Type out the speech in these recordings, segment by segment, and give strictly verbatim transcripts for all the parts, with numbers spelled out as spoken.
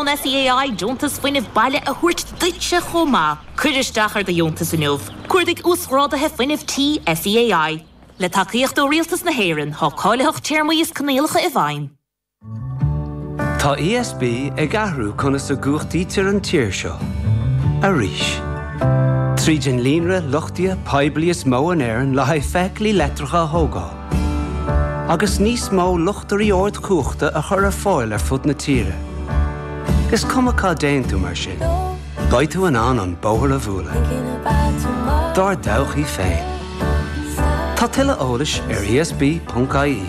ón SEAI deontas fuinnimh baile a thabhairt duitse chomh maith. Cuir isteach ar do dheontas inniu. Cuardaigh uasghráduithe fuinnimh tí SEAI. Le tacaíocht ó Rialtas na hÉireann tá cáilitheacht téarmaí is coinníollacha i bhfeidhm. Tá ESB ag athrú conas a chumhachtaítear an tír seo. Arís. Tríd an líonra luchtaithe poiblí is mó in Éirinn le haghaidh feithiclí leictreacha a thógáil. Agus níos mó luchtairí ardchumhachta a chur ar fáil ar fud na tíre. Is cuma cá dtéann tú mar sin. Beidh tú in ann an bóthar a bhualadh. Dár dtodhchaí féin. Tá tuilleadh eolais ar ESB.ie.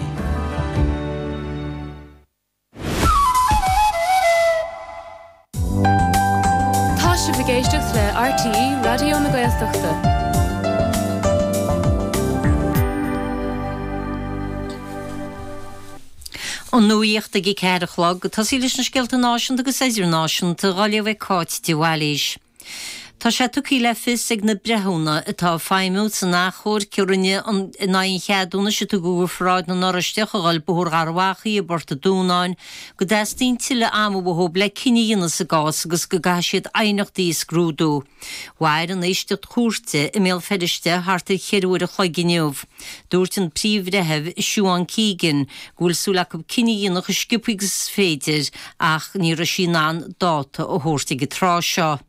Tá sibh ag éisteacht le RTÉ Raidió na Gaeltachta. An nuacht ag a ceathair a chlog, tosaí leis na scéalta náisiúnta agus idirnáisiúnta á léamh ag Cáit de Bhailís. Tá sé tugtha le fios ag na breithiúna atá ag feidhmiú san achomharc a rinneadh in aghaidh an cheadúnais a tugadh do Pharáid na nOráisteach a dhul Bóthar Gharbh Achaidh i bPort an Dúnáin go dteastaíonn tuilleadh ama uathu le cinneadh a dhéanamh sa gcás agus go gcaithfidh siad aighneachtaí a scrúdú. Mhair an éisteacht chúirte i mBéal Feirste thart ar cheithre uair a chloig inniu. Dúirt an príomh-bhreitheamh Siobhán Keegan go bhfuil súil acu cinneadh a dhéanamh chomh sciobtha agus is féidir ach ní raibh sí in ann dáta a thabhairt ag an tráth seo.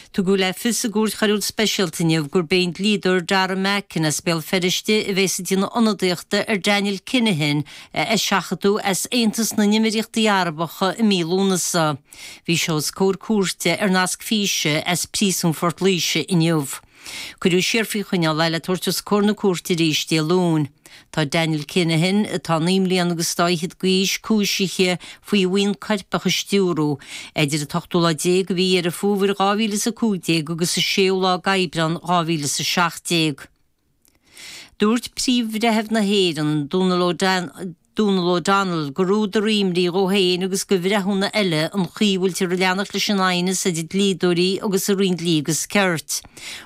Tugadh le fios i gCúirt Choiriúil Speisialta inniu gurb é an dlíodóir Dara Mackin as Béal Feirste a bheas ag déanamh ionadaíochta ar Daniel Kinahan a eiseachadadh as Aontas na nÉimíríochtaí Arabacha i mí Lúnasa. Bhí sé os comhair cúirte ar nasc físe as Príosún Phort Laoise inniu. Cuireadh siar faoi choinneáil é le tabhairt os comhair na cúirte arís Dé Luain. Tá Daniel Kinahan, atá naoi mbliana agus dá fhichead d'aois, cúisithe faoi bhuíon coirpeach a stiúradh idir an t-ochtú lá déag de mhí Dheireadh Fómhair dhá mhíle is a cúig déag agus an séú lá d'Aibreán dhá mhíle is a seacht déag. Dúirt Príomh-Bhreitheamh na hÉireann, Donal O'Donnell, gur údar imní dhó féin agus do bhreithiúna eile an chaoi a bhfuiltear ag leanacht leis an aighneas idir dlíodóirí agus an Roinn Dlí agus Cirt.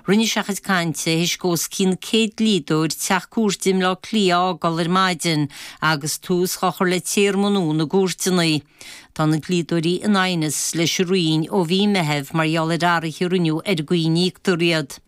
Rinne sé a chuid cainte théis dó os cionn céad dlíodóir teach cúirte i mBleá Cliath a fhágáil ar maidin agus tús á chur le téarma nua na gcúirteanna. Tá na dlíodóirí in aighneas leis an Roinn ó mhí Meithimh mar gheall ar athruithe a rinneadh ar an gcaoi a n-íoctar iad.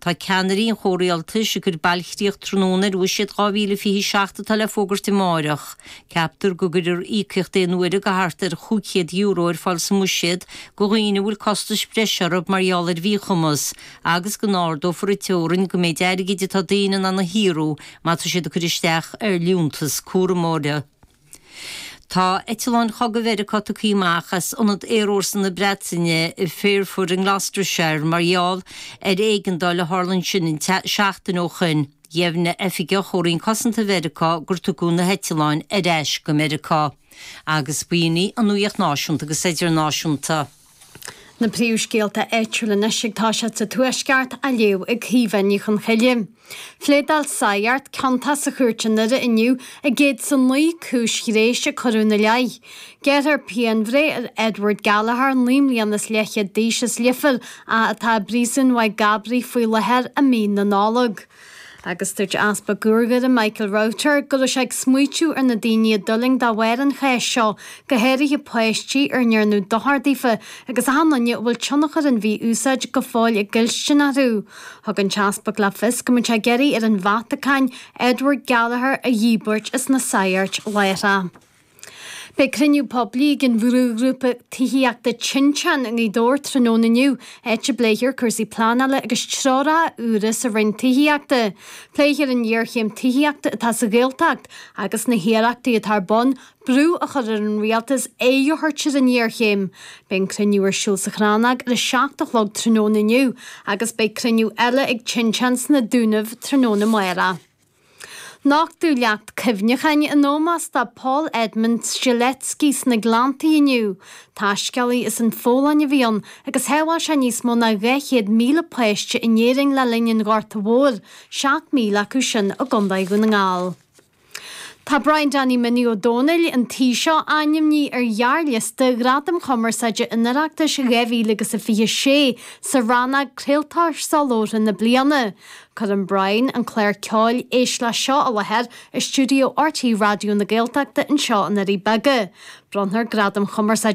Tá ceannairí an chomhrialtais ag cur bailchríoch tráthnóna ar bhuiséad dhá mhíle fiche a seacht atá le fógairt amárach. Ceaptar go gcuirfear íocaíocht aon uaire de thart ar chúig chéad euro ar fáil sa mbuiséad do dhaoine a bhfuil costais bhreise orthu mar gheall ar mhíchumas agus go n-ardófar an teorainn don méid airgid atá daoine in ann a shaothrú má tá siad ag cur isteach ar liúntas cúramóra. Tá eitleáin chogaidh Mheiriceá tugtha amach as ionad aerfhórsa na Breataine i Fairford in Gloucestershire mar gheall ar éigeandáil a tharla ansin an seachtain ó shoin. Dheimhnigh oifigeach ó Roinn Cosanta Mheiriceá gur tugadh na heitleáin ar ais go Meiriceá. Agus b'in í an nuacht náisiúnta agus idirnáisiúnta. Na príomhscéalta áitiúla anois ag toiseacht sa Tuaisceart á léamh ag Caoimhe Ní Chonchoille. Phléadáil Sagart ciontach sa chúirt i nDoire inniu i gcéad is a naoi cúis ghnéis a cuireadh ina leith. Gearrfar pianbhreith ar Edward Gallagher, naoi mbliana is leathchéad d'aois as Leifear, atá i bpríosún Mhaigh gCabraí faoi láthair i mí na Nollag. Agus dúirt Easpag Dhoire Michael Router go raibh sé ag smaoitiú ar na daoine a d'fhulaing de bharr an cháis seo, go háirithe páistí ar ndearnadh dochar daofa agus achan duine a bhfuil tionchar an mhí-úsáid go fóill ag goilstin orthu. Thug an tEaspag le fios go mbeadh sé ag iarraidh ar an Vatacáin Edward Gallagher a dhíbirt as na sagairt láithreach. Beidh cruinniú poiblí ag an bhrúghrúpa tithíochta Tinteán i nGaoth Dobhair tráthnóna inniu, áit a bpléifear cúrsaí pleanála agus treoracha úra sa Roinn Tithíochta. Pléifear an ghéarchéim tithíochta atá sa Ghaeltacht agus na hiarrachtaí atá ar bun brú a chur ar an rialtas aghaidh a thabhairt ar an ngéarchéim. Beidh an cruinniú ar siúl sa Chrannóg ar a seacht a chlog tráthnóna inniu agus beidh cruinniú eile ag Tinteán sna Dúnaibh tráthnóna amárach. Nochtadh leacht cuimhneacháin in ómós do Paul Edmund Strzelecki sna Gleanntaí inniu. Taiscéalaí as an Pholainn a bhí ann agus shábháil sé níos mó ná dhá chéad míle páiste in Éirinn le linn an Ghorta Mhóir, seacht míle acu sin i gContae Dhún na nGall. Tá Brian Danny Minnie Ó Dónaill, an Taoiseach, ainmnithe ar ghearrliosta Ghradaim Chumarsáide an Oireachtais dhá mhíle agus a fiche sé sa rannóg Craoltóir Solabhartha na Bliana. Cuireann Brian an clár ceoil Éist Leis Seo i láthair i stiúideo RTÉ Raidió na Gaeltachta anseo i nDoirí Beaga. Bronnfar Gradaim Chumarsáide